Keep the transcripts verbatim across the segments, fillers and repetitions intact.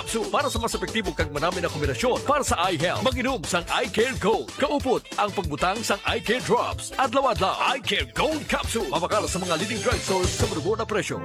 Capsule para sa mas epektibo kag manami na kombinasyon para sa eye health. Mag-inom sang Eye Care Gold. Kaupod ang pagbutang sang Eye Care Drops. Adlaw-adlaw, Eye Care Gold Capsule. Mabakal sa mga leading drugstores sa manubo na presyo.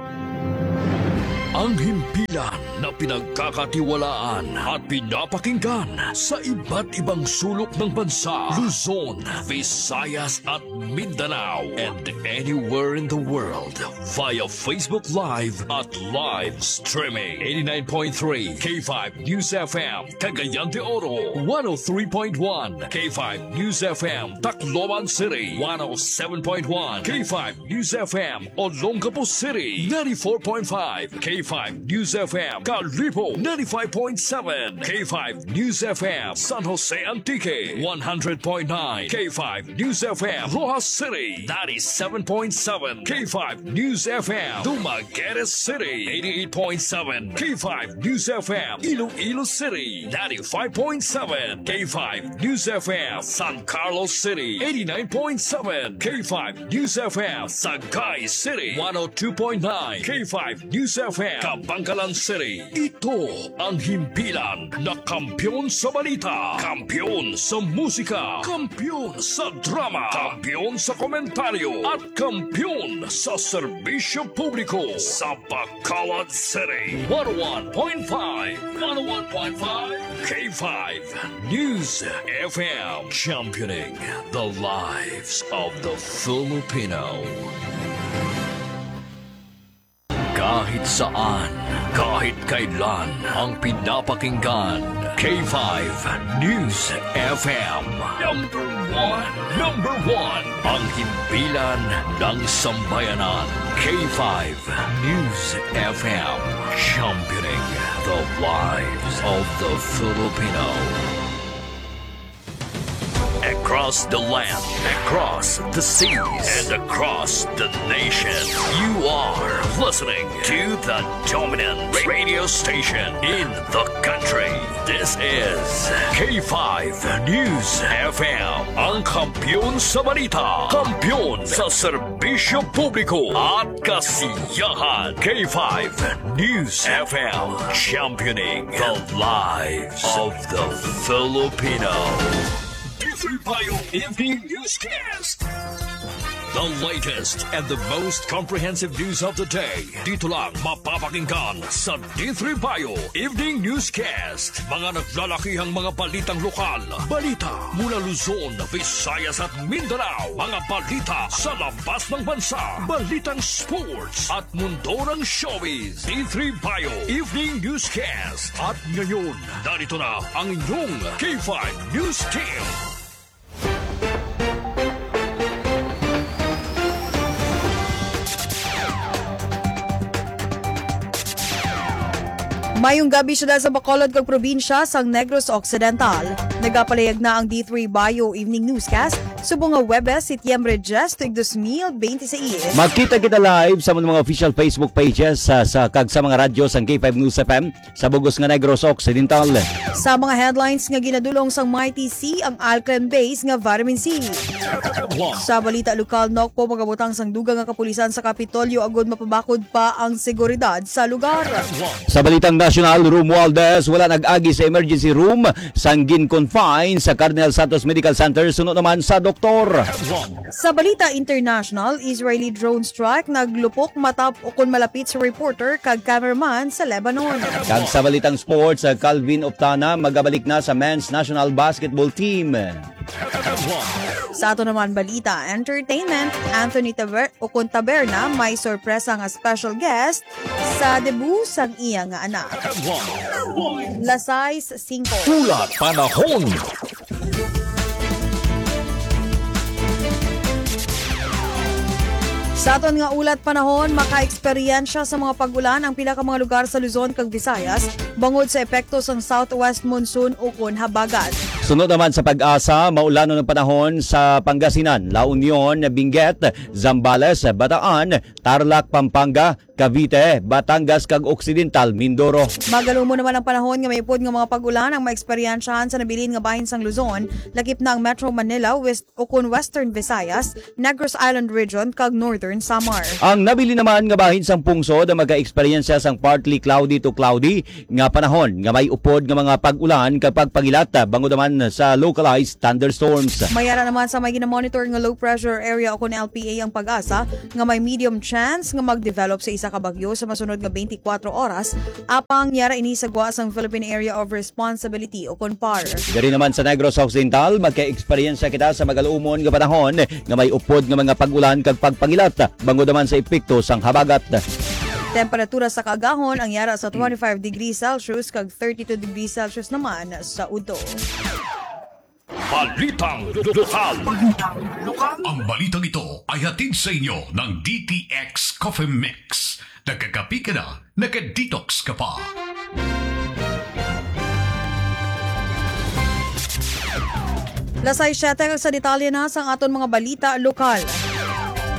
Ang himpilan na pinagkakatiwalaan at pinapakinggan sa iba't ibang sulok ng bansa, Luzon, Visayas at Mindanao, and anywhere in the world via Facebook Live at live streaming. Eighty-nine point three K five News F M, Cagayan de Oro, one oh three point one K five News F M, Tacloban City, one oh seven point one K five News F M, Olongapo City, ninety-four point five K five News F M, Kalibo, ninety-five point seven K five News F M, San Jose Antique, one hundred point nine K five News F M, Roxas City, ninety-seven point seven K five News F M, Dumaguete City, eighty-eight point seven K five News F M, Iloilo City, ninety-five point seven K five News F M, San Carlos City, eighty-nine point seven K five News F M, Sagay City, one oh two point nine K five News F M, Kabankalan City. Ito ang himpilan na kampiyon sa balita, kampiyon sa musika, kampiyon sa drama, kampiyon sa komentaryo, at kampiyon sa serbisyo publiko sa Bacolod City. One oh one point five, one oh one point five K five News F M, championing the lives of the Filipino. Kahit saan, kahit kailan, ang pinapakinggan, K five News F M. Number one, number one, ang himpilan ng sambayanan, K five News F M, championing the lives of the Filipino. Across the land, across the seas, and across the nation, you are listening to the dominant radio station in the country. This is K five News F M, ang kampiyon sa balita, kampiyon sa serbisyo publiko at kasiyahan. K five News F M, championing the lives of the Filipino. D three Bio Evening Newscast. The latest and the most comprehensive news of the day. Dito lang mapapakinggan sa D three Bio Evening Newscast. Mga naglalakihang mga balitang lokal. Balita mula Luzon, Visayas at Mindanao. Mga balita sa labas ng bansa. Balitang sports at mundo ng showbiz. D three Bio Evening Newscast. At ngayon, narito na ang inyong K five News Team. Mayong gabi siyudad sa Bacolod kag probinsya sang Negros Occidental. Nagapalayag na ang D three Bio Evening Newscast subong nga Huwebes, Setyembre diyes, tuig dos mil bente seis. Magkita kita live sa mga official Facebook pages sa, sa kag sa mga radyo sang K five News F M sa bug-os nga Negros Occidental. Sa mga headlines nga ginadul-ong sang Mighty C ang alkaline base nga vitamin C. Sa balita lokal, Nokpo magabutang sang dugang nga kapulisan sa Kapitolyo agud mapabakod pa ang seguridad sa lugar. Sa balitang nasyonal, Romualdez wala nag-agi sa emergency room sang gin-confine sa Cardinal Santos Medical Center suno naman sa doktor. Sa balita international, Israeli drone strike naglupok matap ukon malapit sa reporter kag cameraman sa Lebanon. Kag sa balitang sports, uh, Calvin Optana magabalik na sa men's national basketball team. Sa ato naman balita, entertainment, Anthony Taber-, ukon Taberna may sorpresa nga special guest sa debut sang iya nga anak. Las sais singko. Ulat panahon. Sa aton nga ulat panahon, makaeksperyensya sa mga pag-ulan ang pila ka mga lugar sa Luzon kag Visayas bangod sa epekto sang southwest monsoon ukon habagat. Sunod naman sa PAGASA, maulanon ang panahon sa Pangasinan, La Union, Benguet, Zambales, Bataan, Tarlac, Pampanga, Cavite, Batangas, kag Occidental Mindoro. Magalumo naman ang panahon nga may upod nga mga pag-ulan ang maeksperyensyahan sa nabilin nga bahin sang Luzon, lakip na ang Metro Manila, West ukon Western Visayas, Negros Island Region, kag Northern Samar. Ang nabilin naman nga bahin sang pungsod ang magka-eksperyensya sang partly cloudy to cloudy nga panahon nga may upod nga mga pag-ulan kag pagpangilat, bangod naman sa localized thunderstorms. May ara naman sa may ginamonitor nga low pressure area o kon L P A ang PAGASA nga may medium chance nga mag-develop sa isa ka bagyo sa masunod nga twenty-four oras, apang yara ini sa gwa sang Philippine Area of Responsibility o kon PAR. Diri naman sa Negros Occidental, magka-eksperyensya kita sa magaluumon nga panahon nga may upod nga mga pag-ulan kag pagpangilat, bangod naman sa epekto sang habagat. Temperatura sa kaagahon ang yara sa twenty-five degrees Celsius kag thirty-two degrees Celsius naman sa udto. Balitang lokal. Ang balitang ito ay hatid sa inyo ng D T X Coffee Mix. Nagkakape ka na, naka-detox ka pa. Las sais siyete, sa detalye na sang aton mga balita lokal.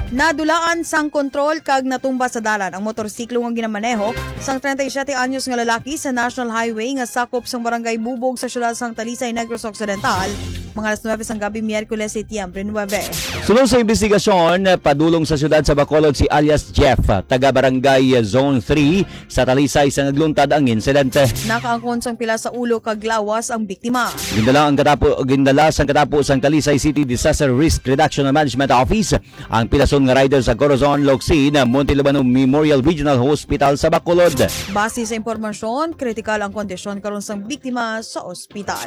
Nadulaan sang kontrol kag natumba sa dalan ang motorsiklo nga ginamaneho sang treinta y siete anyos nga lalaki sa National Highway nga sakop sang Barangay Bubog sa siyudad sang Talisay, Negros Occidental, mga alas nuebe sang gabi, Miyerkules, Setyembre nuebe. Suno sa investigasyon, padulong sa siyudad sa Bacolod si alias Jeff, taga Barangay Zone three sa Talisay, sa nagluntad ang insidente. Nakaangkon sang pila sa ulo kag lawas ang biktima. Gindala ang katapo, gindala sang katapo sang Talisay City Disaster Risk Reduction and Management Office ang pilason nga rider sa Corazon, Locsin, Monte Libano Memorial Regional Hospital sa Bacolod. Base sa impormasyon, kritikal ang kondisyon karon sang biktima sa ospital.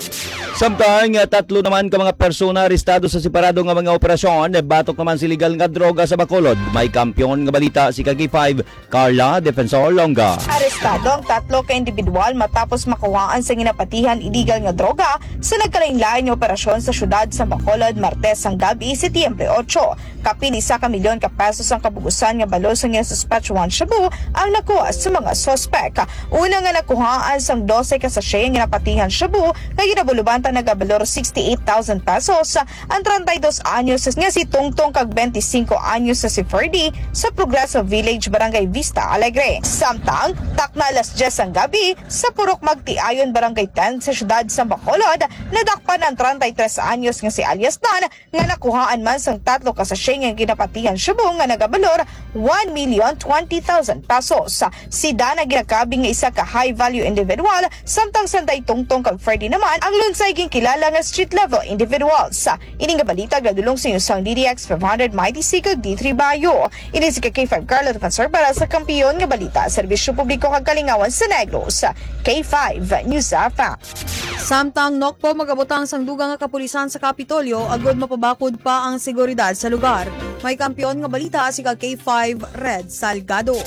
Samtang, ah, tatlo naman ka mga persona arestado sa separado nga mga operasyon batok naman sa iligal nga droga sa Bacolod. May kampiyon nga balita si ka K five, Carla Defensor Longa. Arestado ang tatlo ka individual matapos makuhaan sa ginapatihan iligal nga droga sa nagkalain-lain nga operasyon sa siyudad sa Bacolod, Martes sang gabi, Setyembre otso. Kapin isa ka milyon ka pesos ang kabug-usan nga balor sang ginasuspetsahan shabu ang nakuha sa mga suspek. Una nga nakuhaan sang dose ka sachet nga napatihan shabu nga ginabulubanta nagabalor sixty-eight thousand pesos ang treinta y dos anyos nga si Tungtong kag twenty-cinco anyos nga si Ferdy sa Progreso Village, Barangay Vista Alegre. Samtang, takna alas diyes sang gabi, sa Purok Magtiayon, Barangay ten sa siyudad sa Bacolod, nadakpan ang treinta y tres anyos nga si alias Dan nga nakuhaan man sang tatlo ka sachet nga ginapatihan shabu nga nagabalor one million twenty thousand pesos. Si Dan ang ginakabig nga isa ka high-value individual, samtang sanday Tungtong kag Freddy naman ang lunsay ginkilala nga street-level individuals. Ini nga balita gadulong sa inyo sang D D X five hundred, Mighty C kag D three Bayo. Ini si K five Carlo Defensor para sa Kampiyon nga Balita, Serbisyo Publiko kag Kalingawan sa Negros, K five News F M. Samtang, Nokpo, magabutang sang dugang nga kapulisan sa Kapitolyo agud mapabakod pa ang seguridad sa lugar. May kampiyon nga balita si ka K five Red Salgado.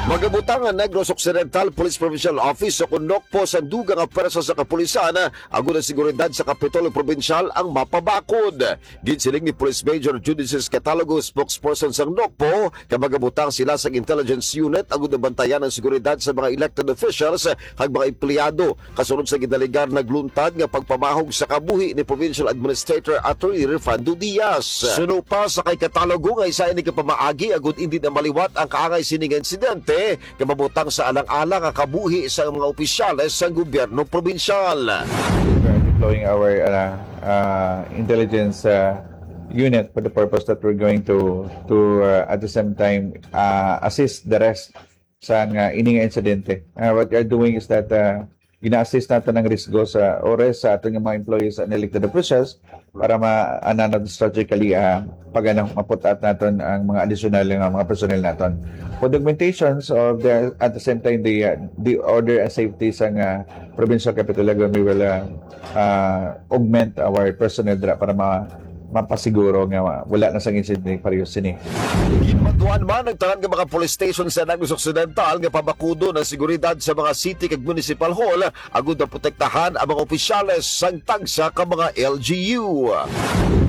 Magabutang ang Negros Occidental Police Provincial Office o kon Nokpo sang dugang nga pwersa sa kapulisan agud ang seguridad sa Kapitolyo Probinsyal ang mapabakod. Ginsiling ni Police Major Judices Catalogo, spokesperson sang Nokpo, nga magabutang sila sang intelligence unit agud mabantayan ang seguridad sa mga elected officials kag mga empleyado, kasunod sa gindaligar nagluntad nga pagpamahog sa kabuhi ni Provincial Administrator Attorney Refrando Diaz. Suno pa sa kay Catalogo nga isa ini ka pamaagi agud indi na maliwat ang kaangay sini nga insidente nga mabutang sa alang-alang nga kabuhi sa mga opisyales sa gobyerno probinsyal. We are deploying our, uh, uh, intelligence, uh, unit for the purpose that we're going to, to, uh, at the same time, uh, assist the rest sa nga ini nga insidente. Uh, what we are doing is that, uh, gina-assist naton ang risgo sa ores sa aton nga mga employees and elected officials para ma-, ano, naton strategically, ah, pag ano, maputat naton ang mga additional nga mga personnel naton. For the augmentations of the, at the same time, the, uh, the order and safety sa nga provincial capital, we will, uh, uh, augment our personnel dira para ma-, mapasiguro nga wala na sang insidente pareho sini. Ginmanduan man ang tanan nga mga police station sa Negros Occidental nga pabakudon ang seguridad sa mga city kag municipal hall agud maprotektahan ang mga opisyales sang tagsa ka mga L G U.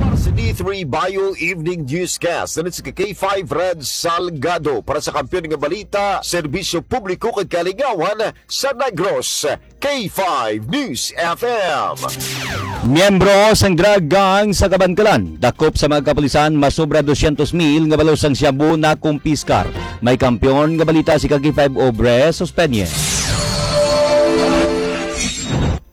Para sa D three Bio Evening Newscast, nandito si K five Red Salgado para sa Kampiyon nga Balita, Serbisyo Publiko kag Kalingawan sa Negros, K five News F M. Miyembro sang drug gang sa Kabankalan, dakop sa mga kapulisan, masobra dosyentos mil nga balor sang shabu nakumpiskar. May kampiyon nga balita si ka K five Obre Suspenye.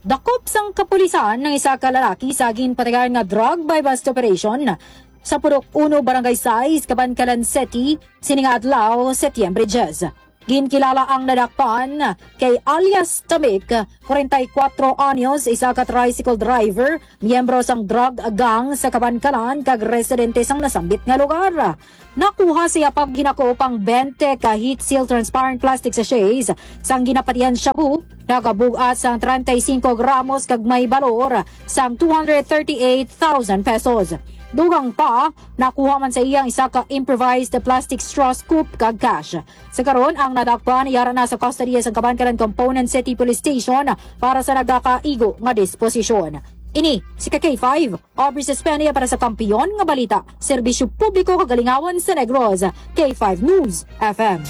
Dakop sang kapulisan ang isa ka lalaki sa ginpatigar nga drug buy-bust operation sa Purok Uno, Barangay Sais, Kabankalan City, sini nga adlaw, Setyembre diyes. Ginkilala ang nadakpan kay alias Tamik, kwarenta y kuwatro anyos, isa ka tricycle driver, miyembro sang drug gang sa Kabankalan kag residente sang nasambit nga lugar. Nakuha sa iya paghinakop ang twenty ka heat seal transparent plastic sachets sang ginapatihan shabu, nagabug-at sang treinta y cinco gramos kag may balor sang two hundred thirty-eight thousand pesos. Dugang pa, nakuha man sa iya ang isa ka improvised plastic straw scoop kag cash. Sa karon, ang nadakpan yara na sa kustodiya sang Kabankalan Component City Police Station para sa nagakaigo nga disposisyon. Ini si ka K five, Aubrey Sespenia para sa Kampiyon nga Balita, Serbisyo Publiko kag Kalingawan sa Negros, K five News F M.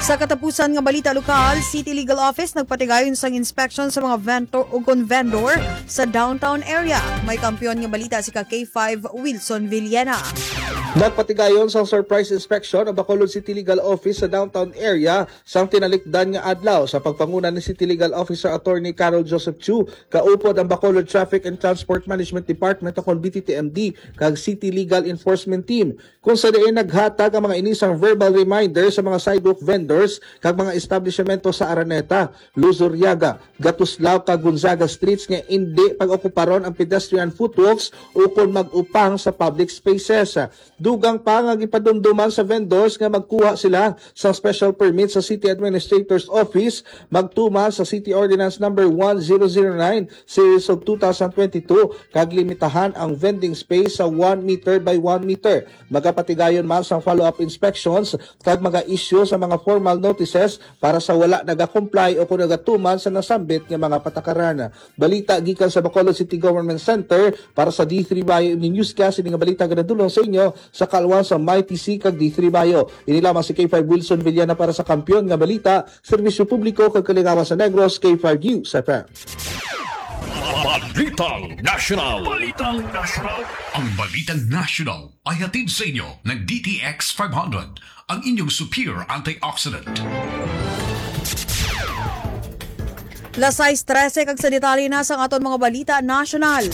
Sa katapusan nga balita lokal, City Legal Office nagpatigayon sang inspection sa mga vento-, ukon vendor sa downtown area. May Kampiyon nga Balita si ka K five Wilson Villena. Nagpatigayon sang surprise inspection ang Bacolod City Legal Office sa downtown area sang tinalikdan nga adlaw sa pagpanguna ni City Legal Officer Attorney Carol Joseph Chu, kaupod ang Bacolod Traffic and Transport Management Department, o kon B T T M D, kag City Legal Enforcement Team, kung sa diin naghatag ang mga ini sang verbal reminder sa mga sidewalk vendors kag mga establishmento sa Araneta, Luzuriaga, Gatuslao kag Gonzaga Streets nga indi pag-okuparon ang pedestrian footwalks o kon mag-upang sa public spaces. Dugang pa nga gipadumduman sa vendors nga magkuha sila sa special permit sa City Administrator's Office, magtuman sa City Ordinance Number one zero zero nine, Series of two thousand twenty-two, kag limitahan ang vending space sa one meter by one meter. Magapatigayon man sang follow-up inspections kag maga-issue sa mga formal notices para sa wala nagakomply o kon nagatuman sa nasambit nga mga patakaran. Balita gikan sa Bacolod City Government Center, para sa D three Bayo Evening Newscast, ini nga balita ginadulong sa inyo sa kaalwan sa Mighty C kag D three Bayo. Ini lamang si K five Wilson Villana para sa Kampiyon nga Balita, Serbisyo Publiko kag Kalingawan sa Negros, K five News F M. Balitang National. Balitang National. Ang Balitang National ay hatid sa inyo ng D T X five hundred, ang inyong superior antioxidant. Las sais trese kag sa detalye na sang aton mga balita nasyonal.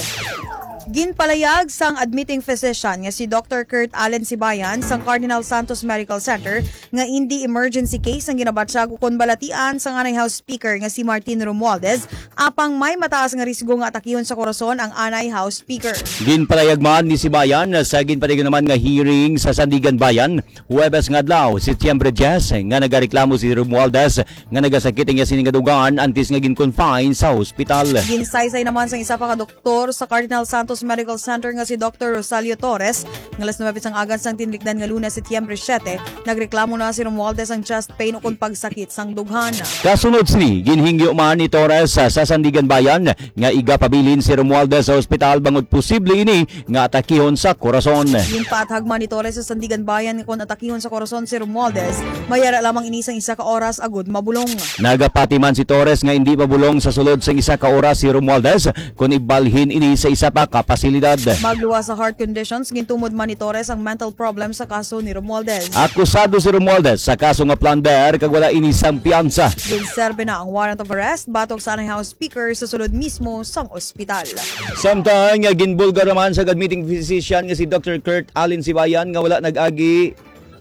Ginpalayag sang admitting physician nga si Doctor Kurt Allen Sibayan sang Cardinal Santos Medical Center nga indi emergency case ang ginabatyag ukon balatian sang anay House Speaker nga si Martin Romualdez, apang may mataas nga risgo nga atakihon sa korason ang anay House Speaker. Ginpalayag man ni Sibayan sa ginpatigayon naman nga hearing sa Sandiganbayan Huwebes nga adlaw, Setyembre diyes, nga nagareklamo si Romualdez nga nagasakit ang iya sini nga dugan antes nga gin-confine sa hospital. Ginsaysay naman sang isa pa ka doktor sa Cardinal Santos Medical Center nga si Doctor Rosalio Torres nga las nuwebe sang agan sang tinlikdan nga Lunes, Setyembre siyete, nagreklamo na si Romualdez ang chest pain ukon pagsakit sang dughan. Kasunod sini, ginhingyo man ni Torres sa, sa Sandiganbayan nga igapabilin si Romualdez sa ospital bangod posible ini nga atakihon sa korason. Ginpaathag man ni Torres sa Sandiganbayan nga kon atakihon sa korason si Romualdez, mayara lamang ini sang isa ka oras agud mabulong. Nagapati man si Torres nga indi mabulong sa sulod sang isa ka oras si Romualdez kon ibalhin ini sa isa pa ka pasilidad. Magluwas sa heart conditions, gintumod man ni Torres ang mental problem sa kaso ni Romualdez. Akusado si Romualdez sa kaso nga plunder kag wala ini sang piyansa. Ginserbi na ang warrant of arrest batok sa anay House Speaker sa sulod mismo sang ospital. Samtang nga ginbulgar naman sa admitting physician nga si Doctor Kurt Allen Sibayan nga wala nag-agi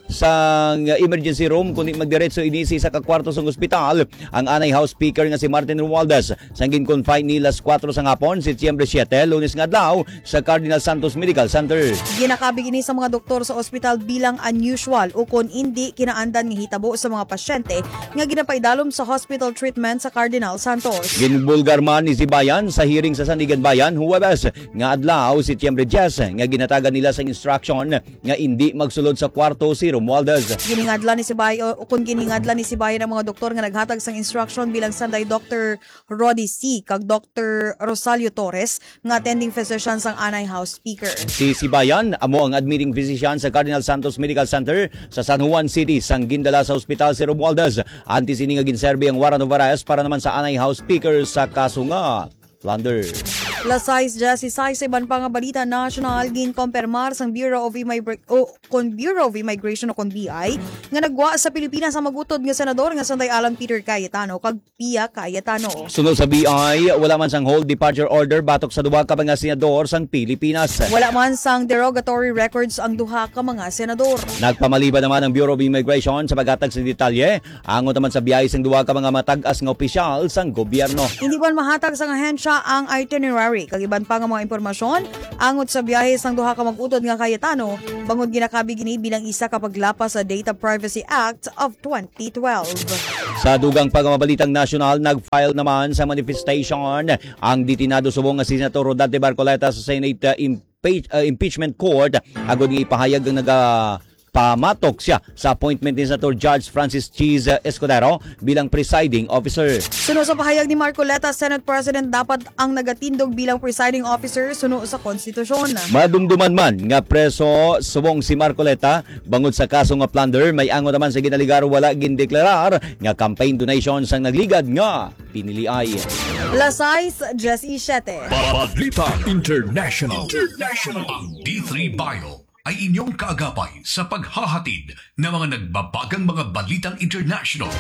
sang emergency room, kundi magdiretso ini sa isa ka kwarto sang ospital ang anay House Speaker nga si Martin Romualdez, sang gin-confine ni las kuwatro sang hapon, Setyembre siyete, Lunes nga adlaw, sa Cardinal Santos Medical Center. Ginakabig ini sa mga doktor sa ospital bilang unusual o kon indi kinaandan nga hitabo sa mga pasyente nga ginapaidalom sa hospital treatment sa Cardinal Santos. Ginbulgar man ni Sibayan sa hearing sa Sandiganbayan Huwebes nga adlaw, Setyembre diyes, nga ginatagan nila sa instruction nga indi magsulod sa kwarto si Romualdez. Giningadlan ni Sibayan, o kung giningadlan ni Sibayan ang mga doktor nga naghatag sang instruction bilang sanday Doctor Rodi C kag Doctor Rosalio Torres nga attending physician sang anay House Speaker. Si Sibayan amo ang admitting physician sa Cardinal Santos Medical Center sa San Juan City sang gindala sa ospital si Romualdez antes ini nga ginserbi ang warrant of arrest para naman sa anay House Speaker sa kaso nga plunder. Las sais diyesisais, sa iban pa nga balita nasyonal, ginkompermar sang Bureau of Immigration, o kon Bureau of Immigration o kon B I, nga nagwa sa Pilipinas ang magutod nga senador nga sanday Alan Peter Cayetano kag Pia Cayetano. Suno sa B I, wala man sang hold departure order batok sa duha ka mga senador sang Pilipinas. Wala man sang derogatory records ang duha ka mga senador. Nagpamaliban naman ang Bureau of Immigration sa paghatag sa detalye angot naman sa biyahe sang duha ka mga matag-as nga opisyal sang gobyerno. Hindi man mahatag sang ahensya ang itinerary kag iban pa nga mga impormasyon angot sa biyahe sang duha ka mag-utod nga Cayetano, bangod ginakabig ini bilang isa ka paglapas sa Data Privacy Act of twenty twelve. Sa dugang pa nga mga balitang nasyonal, nag-file naman sa manifestation ang detinado subong nga si Senator Rodante Marcoleta sa Senate, uh, impeach-, uh, Impeachment Court agod nga ipahayag ang naga pamatok siya sa appointment ni Senator Judge Francis Cheese Escudero bilang presiding officer. Suno sa pahayag ni Marcoleta, Senate President dapat ang nagatindog bilang presiding officer suno sa konstitusyon. Madumduman man nga preso subong si Marcoleta bangod sa kaso nga plunder, may angot naman sa ginaligar wala gindeklarar nga campaign donation sang nagligad nga piniliay. Las sais diyesisete. Balita International. International. Ang D three Bio ay inyong kaagapay sa paghahatid ng mga nagbabagang mga balitang international.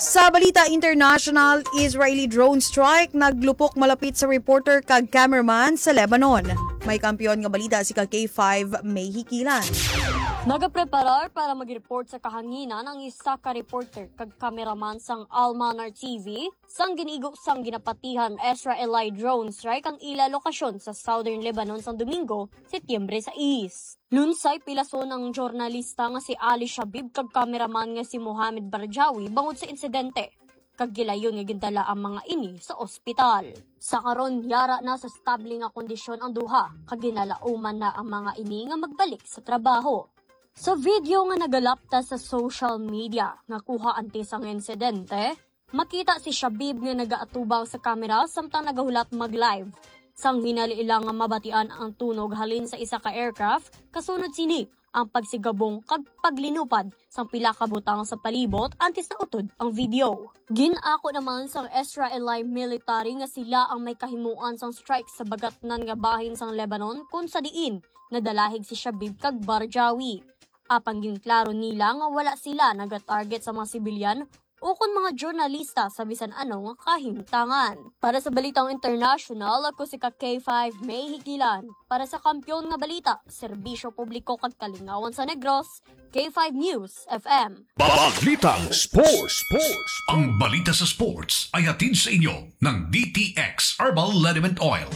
Sa balita international, Israeli drone strike naglupok malapit sa reporter kag cameraman sa Lebanon. May kampiyon nga balita si ka K five May Hikilan. Nagapreparar para mag-report sa kahanginan ang isa ka reporter kag cameraman sang Al Manar T V sang ginigo sang ginapatihan Israeli drone strike ang ila lokasyon sa southern Lebanon sang Domingo, Setyembre sais. Lunsay pilason ang journalista nga si Ali Shabib kag cameraman nga si Mohamed Barjawi bangod sa insidente, kag gilayon nga gindala ang mga ini sa ospital. Sa karon, yara na sa estable nga kondisyon ang duha, kag ginalauman na ang mga ini nga magbalik sa trabaho. Sa video nga nagalapta sa social media nga kuha antes ang insidente, makita si Shabib nga nagaatubang sa kamera samtang nagahulat mag-live. Sang hinali lang nga mabatian ang tunog halin sa isa ka aircraft, kasunod sini ang pagsigabong kag paglinupad sang pila ka butang sa palibot antes nautod ang video. Gin-ako naman sang Israeli military nga sila ang may kahimuan sang strike sa bagatnan nga bahin sang Lebanon, kon sa diin nadalahig si Shabib kag Barjawi. Apang ginklaro nila nga wala sila nagatarget sa mga sibilyan ukon mga journalista sa bisan ano nga kahimtangan. Para sa Balitang International, ako si ka K five May Hikilan. Para sa Kampiyon nga Balita, Serbisyo Publiko kag Kalingawan sa Negros, K five News F M. Balitang Sports. Sports. Ang balita sa sports ay hatid sa inyo ng D T X Herbal Liniment Oil.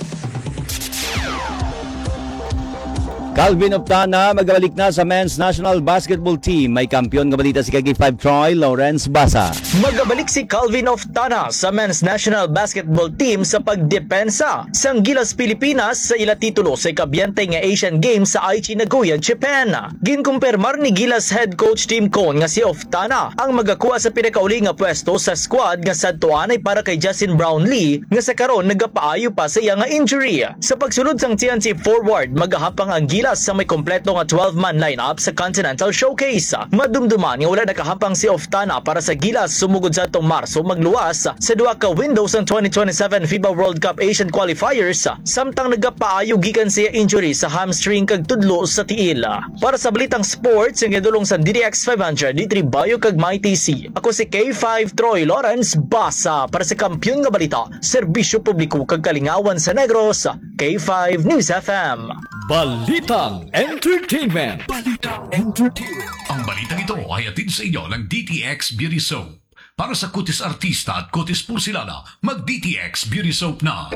Calvin Oftana magabalik na sa men's national basketball team. May kampiyon nga balita si ka K five Troy Lawrence Basa. Magabalik si Calvin Oftana sa men's national basketball team sa pagdepensa sang Gilas Pilipinas sa ila titulo sa ikabyente nga Asian Games sa Aichi, Nagoya, Japan. Ginkumpirmar ni Gilas head coach Tim Cone nga si Oftana ang magakuha sa pinakauli nga pwesto sa squad nga sadto anay para kay Justin Brownlee, nga sa karon nagapaayo pa sa iya nga injury. Sa pagsulod sang T N C Forward, magahapang ang Gilas sa may kompleto nga twelve-man lineup sa Continental Showcase. Madumduman nga wala nakahapang si Oftana para sa Gilas sumugod sa atong Marso magluwas sa duha ka window sang twenty twenty-seven fifa World Cup Asian Qualifiers, samtang nagapaayo gikan sa iya injury sa hamstring kag tudlo sa tiil. Para sa Balitang Sports, ang idulong sa D D X five hundred, D three Bio kag Mighty C. Ako si K five Troy Lawrence Basa para sa Kampiyon nga Balita, Serbisyo Publiko kag Kalingawan sa Negros, K five News F M. Balitang Entertainment. Balitang Entertainment. Ang balitang ito ay hatid sa inyo ng D T X Beauty Soap. Para sa kutis artista at kutis porselana, mag D T X Beauty Soap na.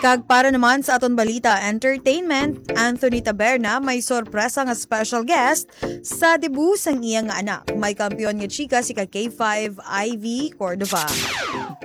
Kag para naman sa aton balita, entertainment, Anthony Taberna may sorpresa nga special guest sa debut sang iya nga anak. May kampiyon nga chika si ka K five Ivy Cordova.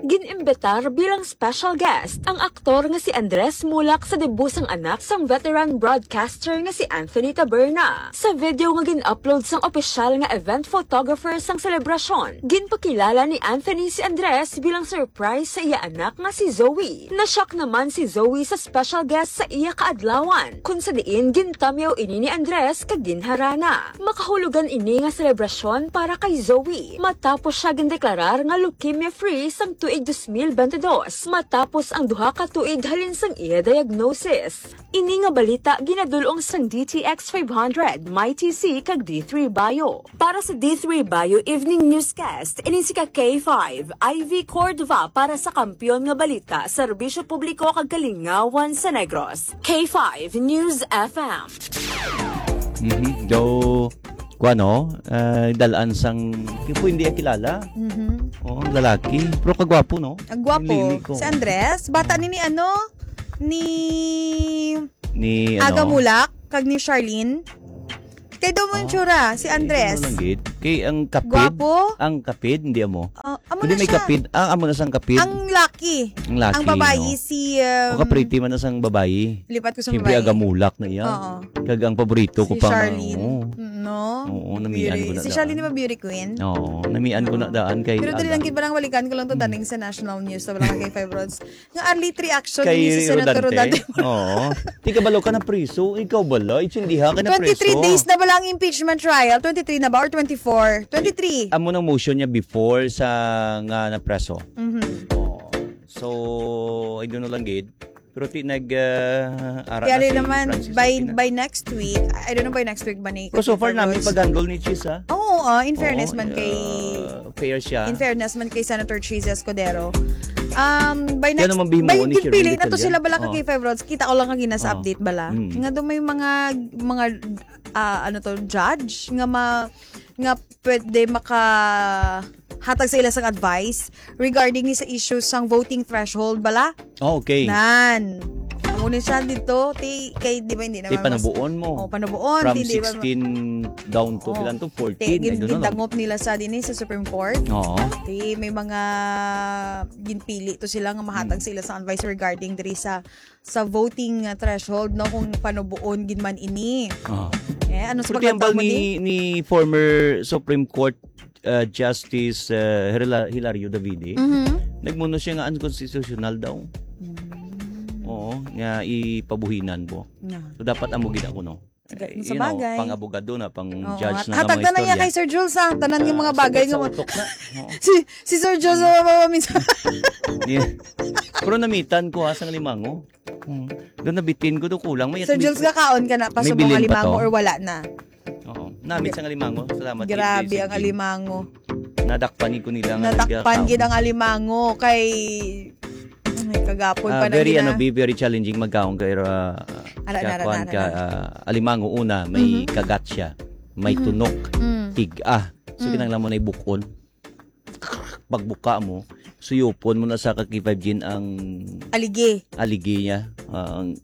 Gin-imbitar bilang special guest ang aktor nga si Andres Mulak sa debut sang anak sang veteran broadcaster nga si Anthony Taberna. Sa video nga gin-upload sang opisyal nga event photographer sang selebrasyon, ginpakilala ni Anthony si Andres bilang surprise sa iya anak nga si Zoe. Na-shock naman si Zoe sa special guest sa iya kaadlawan, kung sa diin gintamyaw ini ni Andres kag ginharana. Makahulugan ini nga selebrasyon para kay Zoe matapos siya gindeklarar nga leukemia-free sang tuig dos mil bente dos, matapos ang duha ka tuig halin sang iya diagnosis. Ini nga balita ginadul-ong sang D T X five hundred, My T C, kag D three Bio. Para sa D three Bio Evening Newscast, ini si ka K five, Ivy Cordova para sa Kampiyon nga Balita, Serbisyo Publiko kag Kalingawan sa Negros. K five News F M. Mhm. Do, kuan, no? Ah, dalaan sang, yung po hindi kilala. Mhm. Oh, ang lalaki. Pero kagwapo, no? Ang gwapo. Ang lili ko. Si Andres, bata ni ni ano? Ni Ni, ano? Aga Mulak, kag ni Charlene. Kay daw mo Ah, yung tsura, si eh, Andres. ano lang gid? Kay ang kapid. Gwapo? Ang kapid, hindi mo. Ah, amo Hindi na may siya. kapid. Ah, amo na sang kapid. Ang laki. Ang laki, Ang babayi, no? si... Um, O ka-pretty man na sang babayi. Lipat ko sa Siyempre, babayi. Aga Mulak na iya. Oo. Kag ang paborito Si ko pa nga, Charlene. oo. No? Oo, namian ko na Si daan. Charlene, di ba beauty queen? Oo, namian ko na Oo. daan kay Pero dali Aga. lang, gid, parang balikan ko lang to, daning sa national news, sa wala kay Five Rods. Nga early three action, Kay ni si Senator Rodante. Rodante. Oo. Di ka balo ka na priso. Ikaw bala? Itsindiha ka na twenty-three priso. days na ba lang ang impeachment trial? Twenty-three na ba or twenty-four? Twenty-three. Amo nang motion niya before sa nga napreso. Mhm. Oo. So, I don't know lang gid. Pero ti nag uh, ara Kaya na rin si naman, Francis by, Aquino. by next week, I don't know by next week ba ni Pero so far, Five nami Rods. pag-handle ni Chis, ha? Oo, ah, in fairness Oo, man kay... uh, fair siya. In fairness man kay Senator Chis Escudero. Um, by Kaya next, naman bihimo by, ni Shirley ginpili na to Detallan. sila bala ka Oh. K five Rods. Kita ko lang kagina sa Oh. Update bala. Mm. Nga daw may mga, mga, ah, ano to, judge nga ma, nga pwede maka hatag sa ila sang advice regarding ni sa issue sang voting threshold bala. Oh, okay. Nan. Amo ni siya dito, ti, kay, di ba, hindi Kay naman mas- panubuon mo. Oh, panubuon, From ti, di ba, sixteen down to Oh. ilan to? Ti, fourteen. gin-, I don't know. gindangop nila sa din eh, sa Supreme Court. Oo. Ti, may mga ginpili to sila nga mahatag Hmm. sila sa advice regarding diri sa sa voting uh, threshold, no, kung panubuon gid man ini. Oo. Eh, ano sa Pero tiyambal pagkatapos ni, ni former Supreme Court uh, Justice uh, Hila- Hilario Davide, Mhm. nagmuno siya nga unconstitutional daw. Mm. Oo, nga ipabuhinan po. Na. So dapat amo gid ako, no? Sige, Eh, sa you know, bagay. pang-abogado na, pang Oo, judge at na, hatag mga na lang niya istorya. Kay Sir Jules, ha? Tanan yung mga Ah, bagay sugat sa nga utok na. Oo. Si, si Sir Jules, oh, minsan. Yeah. Pero namitan ko ha, sang alimango. Hmm. Doon nabitin ko, do kulang. May Sir Jules, gakaon ka na pa May sa mga bilin pa alimango to? Or wala na? Oo. Namit sang alimango. Salamat. Grabe Sir ang Jim. Alimango. Nadakpan ko nila nga Nadakpan nagkakaon. Gid ang alimango kay, ay, kagapon Ah, pa na very, gina- ano, be very challenging magkaon kay uh, Ara, ara, kuan ara, ka ara. ah, alimango una, may Mhm. kagat siya, may Mhm. tunok, Mm. tig-a. So Mm. kinahanglan mo na ibukon. Pagbuka mo, suyupon mo na sa ka K five Gin ang Aligi. Aligi niya. Ah, ang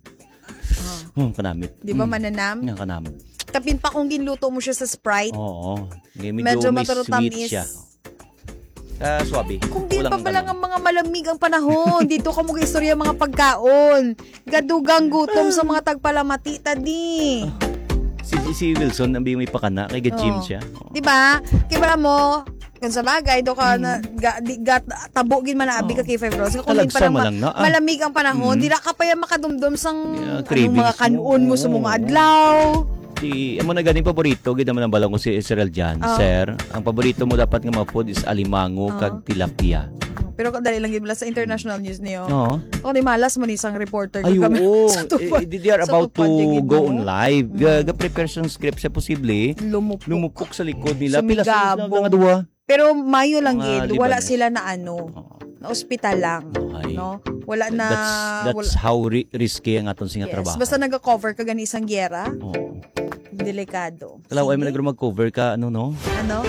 Oh. Hmm, kanamit. Di ba Hmm. mananam? Nga kanamit. Kapin pa kung ginluto mo siya sa Sprite. Oo. Ngay, Medyo may mataro sweet tamis. Siya. Ah, suabe. Kung di Kulang pa pala ng nga mga malamig ang panahon, dito ka mag-istorya mga pagkaon. Gadugang gutom sa mga tagpalamati tadi. Si, si Wilson, ang may pakana, kay ga-gym Oo. siya. Di ba? Kaya mo, kung sa bagay, do ka na, ga, di, ga, tabo gid man abi Oo. ka K five Rods. Kung di Talagsa pa lang man ma- lang na, ah. malamig ang panahon, Mm. Di ra ka pa yan makadumdum sang Yeah, anong cravings mga kanun mo sa mo. mga Oo. adlaw. Di, amo na gani paborito, gid naman ang balong ko si Israel Jan. Ah. Sir, ang paborito mo dapat nga mga food is alimango Ah. kag tilapia. Pero kadali lang gid bala sa international news niyo. Oo. O di malas mo ni isang reporter Ay, kami oo. sa tupad. Eh, they are Sa about to tupad, gid go mo. on live. Mm. Ga, ga-prepare siyang script siya posible. Lumupok. Lumupok sa likod nila. Pila sa Sumigabog. mga duha? Pero mayo lang Mga gid, Lebanese. Wala sila na ano, Oo. na ospital lang. Okay. No? Wala na... That's, that's wala, how ri- risky ang aton nga yes. Trabaho. Basta naga-cover ka gani isang giyera, Oo. delikado. Kalaw ay Sige. Nagro mag-cover ka, ano, no? Ano?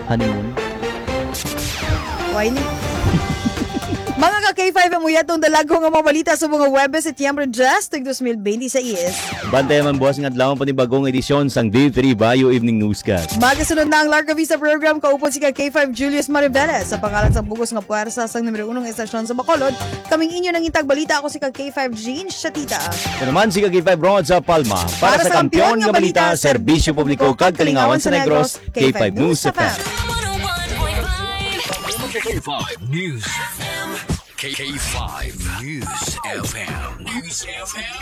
Honeymoon. Why ni? Mga ka K five, ang uyat ng dalago nga mga balita sa mga Webes, Setyembre diyes, tuig dos mil bente seis. Bantay man buwas nga adlaw ang panibagong edisyon sang D three Bio Evening Newscast. Magasunod na ang Larga Vista Program, kaupod si ka K five Julius Mariveles. Sa pangalan sa bugos nga puwersa sang numero unong estasyon sa Bacolod, kaming inyo nang intag balita, ako si ka K five Jean Shatita. Ito naman si Kagipay Broad sa Palma. Para, sa kampiyon nga balita, serbisyo publiko kag kalingawan sa Negros, K five News F M. K five News F M. K five News F M. News F M.